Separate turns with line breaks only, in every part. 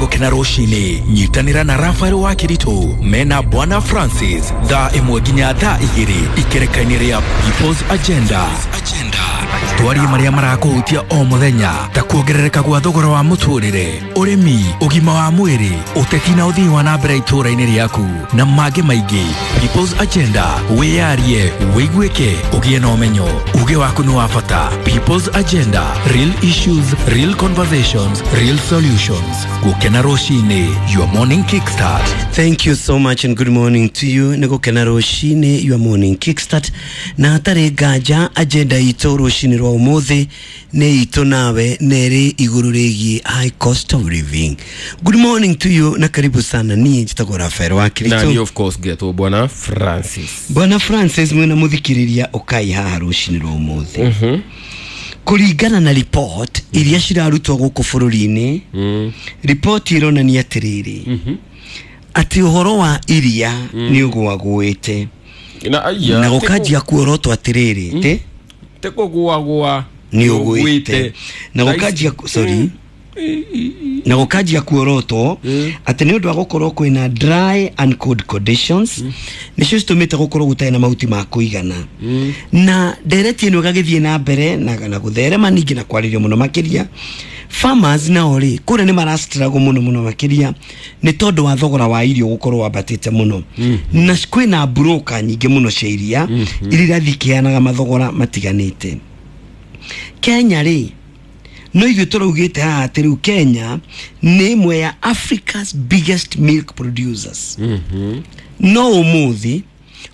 Gũkena Rũcinĩ. Nyitanĩra na Rafael wa Kĩritũ mena Bwana Francis thaa 1 nginya thaa 2 ikereka-inĩ rĩa People's Agenda. Twarie marĩa marakũhutia o mũthenya ta kuongerereka gwa thogora wa mũtũrĩre, ũrĩmi, ũgima wa mwĩrĩ, ũteti na ũthii wa na mbere itũũra-inĩ rĩaku na mangĩ maingĩ. People's Agenda, wĩyarie, wĩiguĩke, ũgĩe na ũmenyo. Uge waku nĩ wa bata. People's Agenda, real issues, real conversations, real solutions. Gũkena Rũcinĩ, your morning kickstart.
Thank you so much and good morning to you. Nĩ Gũkena Rũcinĩ, your morning kickstart. Na hatarĩ nganja agenda itũ rũcinĩ rwa ũmũthĩ nĩ itũ nawe na ĩrĩ igũrũ rĩgiĩ high cost of living. Good morning to you na karibu sana. Niĩ njĩtagwo Rafael wa
Na
Kiritu.
ni of course getwo Bwana Francis.
Bwana Francis mwĩna mũthikĩrĩria ũkai haha rũcinĩ rwa ũmũthĩ. Kũringana na report iria cirarutwo gũkũ bũrũri-inĩ, report ĩronania atĩrĩrĩ atĩ ũhoro wa iria nĩ ũgũagũĩte
Na aya
na gũkanjia kuorotwo atĩrĩrĩ tĩ
te kũgũagũa
nĩ ũgwĩte na gũkanjia, sorry, na gũkanjia kuorotwo atĩ nĩ ũndũ wa gũkorwo kwĩna dry and cold conditions nĩcio citũmĩte gũkorwo gũtarĩ na mahuti ma kũigana, na ndereti ĩno ĩgagĩthiĩ na mbere na gũtherema ningĩ na kwarĩrio mũno makĩria. Farmers nao rĩ kũrĩa nĩ marastruggle mũno mũno makĩria nĩ tondũ wa thogora wa irio gũkorwo wambatĩte mũno, na kwĩna broker nyingĩ mũno cia iria iria irathiĩ ikĩheanaga mathogora matiganĩte. Kenya rĩ, no ithuĩ tũraugĩte haha atĩ rĩu Kenya nĩ ĩmwe ya Africa's biggest milk producers, no ũmũthĩ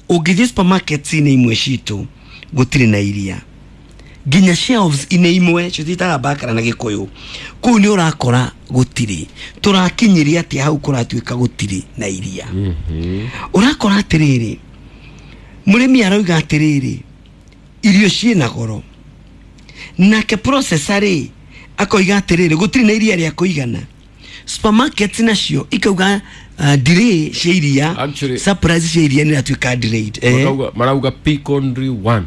ũngĩthiĩ supermarkets-inĩ imwe citũ gũtirĩ na iria, nginya shelves-inĩ imwe cio ciĩtaga bakara na Gĩkũyũ kũu nĩ ũrakora gũtirĩ. Tũrakinyĩria atĩa hau kũratuĩka gũtirĩ na iria? Ũrakora atĩrĩrĩ, mũrĩmi arauga atĩrĩrĩ irio ciĩna goro, nake processor rĩ akoiga atĩrĩrĩ gũtirĩ na iria rĩa kũigana. Supermarkets nacio ikauga delay cia iria,
Actually-
supplies cia iria nĩ iratuĩka delayed.
Marauga pick only one.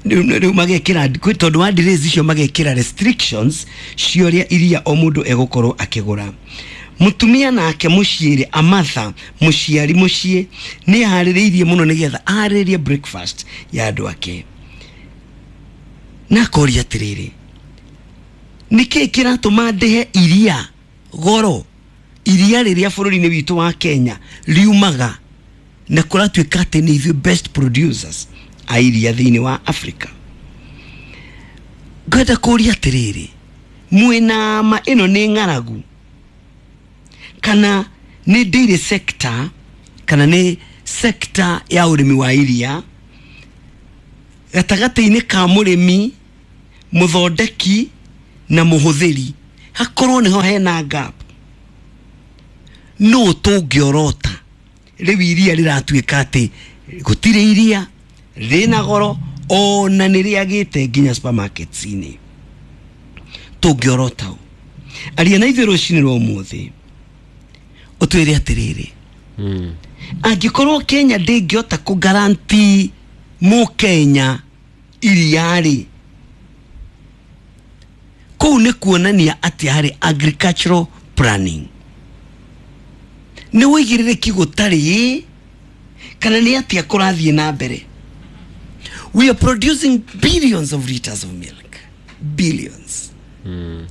Rĩu magekĩra tondũ wa delays icio magekĩra restrictions cia ũrĩa iria o mũndũ egũkorwo akĩgũra. Mũtumia nake mũciĩ rĩ, amatha mũciari mũciĩ nĩ aharĩrĩirie mũno nĩgetha aharĩrĩrie breakfast ya andũ ake, na akoria atĩrĩrĩ, nĩkĩĩ kĩratũma ndĩhe iria goro, iria rĩrĩa bũrũri-inĩ witũ wa Kenya riumaga na kũratuĩka atĩ nĩ ithuĩ best producers a iria thĩinĩ wa Africa? Ngwenda kũria atĩrĩrĩ, mwĩna ma ĩno nĩ ng'aragu kana nĩ dairy sector kana nĩ sector ya ũrĩmi wa iria gatagatĩ-inĩ ka mũrĩmi, mũthondeki na mũhũthĩri hakorwo nĩho hena gap? No tũngĩorota rĩu iria rĩratuĩka atĩ gũtirĩ iria, rĩna goro ona nĩ rĩagĩte nginya supermarkets-inĩ. Tũngĩorota ũ? Aria na ithuĩ rũcinĩ rwa ũmũthĩ ũtwĩre atĩrĩrĩ, angĩkorwo Kenya ndĩngĩhota kũ mũkenya iria rĩ, kũu nĩ kuonania atĩa harĩ agricultural planning? Nĩ ũigĩrĩrĩki gũtarĩ kana nĩ atĩa kũrathiĩ na mbere? We are producing billions of liters of milk, billions,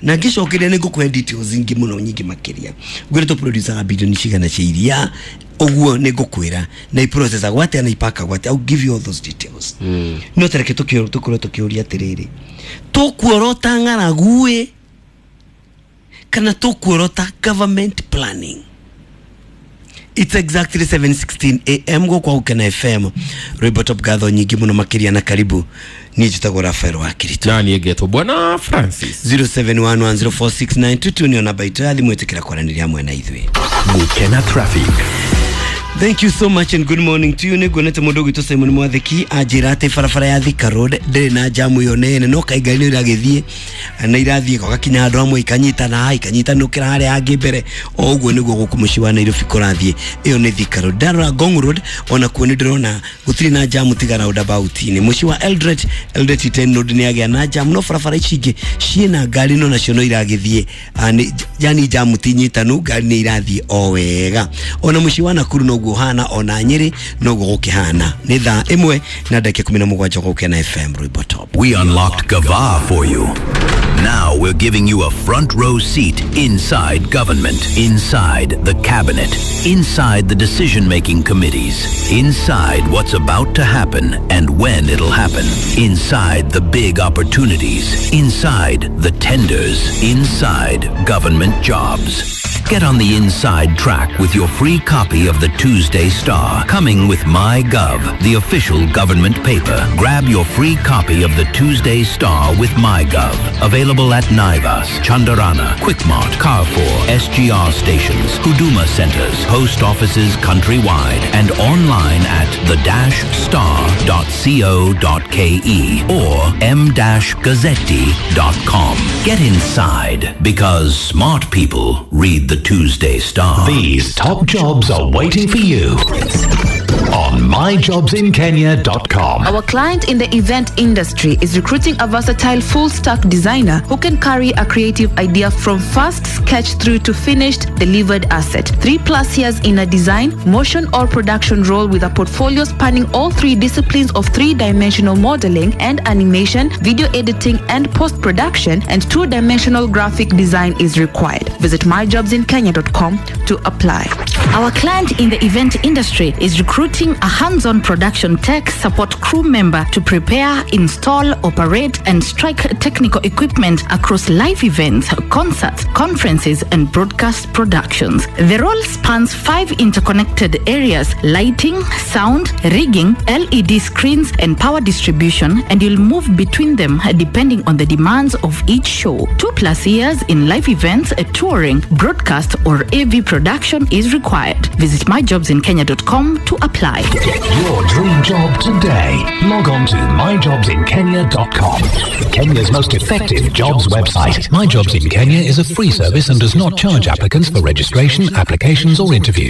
na ngĩcokeria nĩ ngũkũhe details ingĩ mũno nyingĩ makĩria, ngwĩre tũ-producaga bilioni cigana cia iria ũguo nĩ ngũkwĩra na iprocessagwo atĩa na ipakagwo atĩa. I'll give you all those details. No tareke tũkorwo tũkĩũria atĩrĩrĩ, tũkuorota ng'aragu ĩ kana tũkuorota government planning? It's exactly 7:16 a.m. gũkũ Gũkena FM, rwĩmbo top. Ngatho nyingĩ mũno makĩria na karibu. Niĩ njĩtagwo Rafael wa Kirito.
Na niĩ ngetwo Bwana Francis.
0711046922 nĩyo namba itũ ya thimũ, ĩtĩkĩra kwaranĩria hamwe na ithuĩ.
Gũkena Traffic.
Thank you so much and good morning to you. Nĩ nguonete mũndũ ũgwĩtwo Simon Mwathiki anjĩra atĩ barabara ya Thika Road ndĩrĩ na jamu ĩyo nene, no kaĩ ngari nĩ iragĩthiĩ na irathiĩ gũgakinya handũ hamwe ikanyitana, ikanyitanũkĩra harĩa hangĩ mbere. O ũguo nĩguo gũkũ mũciĩ wa Nairobi kũrathiĩ. Ĩyo nĩ Thika Road. Ndarora Ngong Road onakuo nĩ ndĩrona gũtirĩ na jamu tiga roundabout-inĩ. Mũciĩ wa Eldoret, Eldoret Iten Road nĩ yagĩa na jamu, no barabara ici ingĩ ciĩna ngari no nacio no iragĩthiĩ. Yani jamu ti nyitanu, ngari nĩ irathiĩ o wega. Ona mũciĩ wa Nakuru noguo hana, ona Nyeri noguo gũkĩhana. Nĩ thaa 1:17 gũkena FM Rwimbo Top.
We unlocked Gava for you. Now we're giving you a front row seat inside government, inside the cabinet, inside the decision-making committees, inside what's about to happen and when it'll happen, inside the big opportunities, inside the tenders, inside government jobs. Get on the inside track with your free copy of the Tuesday Star, coming with MyGov, the official government paper. Grab your free copy of the Tuesday Star with MyGov. Available at Naivas, Chandarana, Quickmart, Carrefour, SGR stations, Huduma centers, post offices countrywide, and online at the-star.co.ke or m-gazzetti.com. Get inside, because smart people read the Tuesday Star.
These top jobs are waiting for you on myjobsinkenya.com.
Our client in the event industry is recruiting a versatile full-stack designer who can carry a creative idea from first sketch through to finished delivered asset. 3+ years in a design, motion or production role with a portfolio spanning all 3 disciplines of 3-dimensional modeling and animation, video editing and post-production, and 2-dimensional graphic design is required. Visit myjobsinkenya.com to apply.
Our client in the event industry is recruiting a hands-on production tech support crew member to prepare, install, operate, and strike technical equipment across live events, concerts, conferences, and broadcast productions. The role spans 5 interconnected areas: lighting, sound, rigging, LED screens, and power distribution, and you'll move between them depending on the demands of each show. 2+ years in live events, touring, broadcast, or AV production is required. Visit myjobsinkenya.com to apply.
Get your dream job today. Log on to myjobsinkenya.com. Kenya's most effective jobs website. My Jobs in Kenya is a free service and does not charge applicants for registration, applications, or interviews.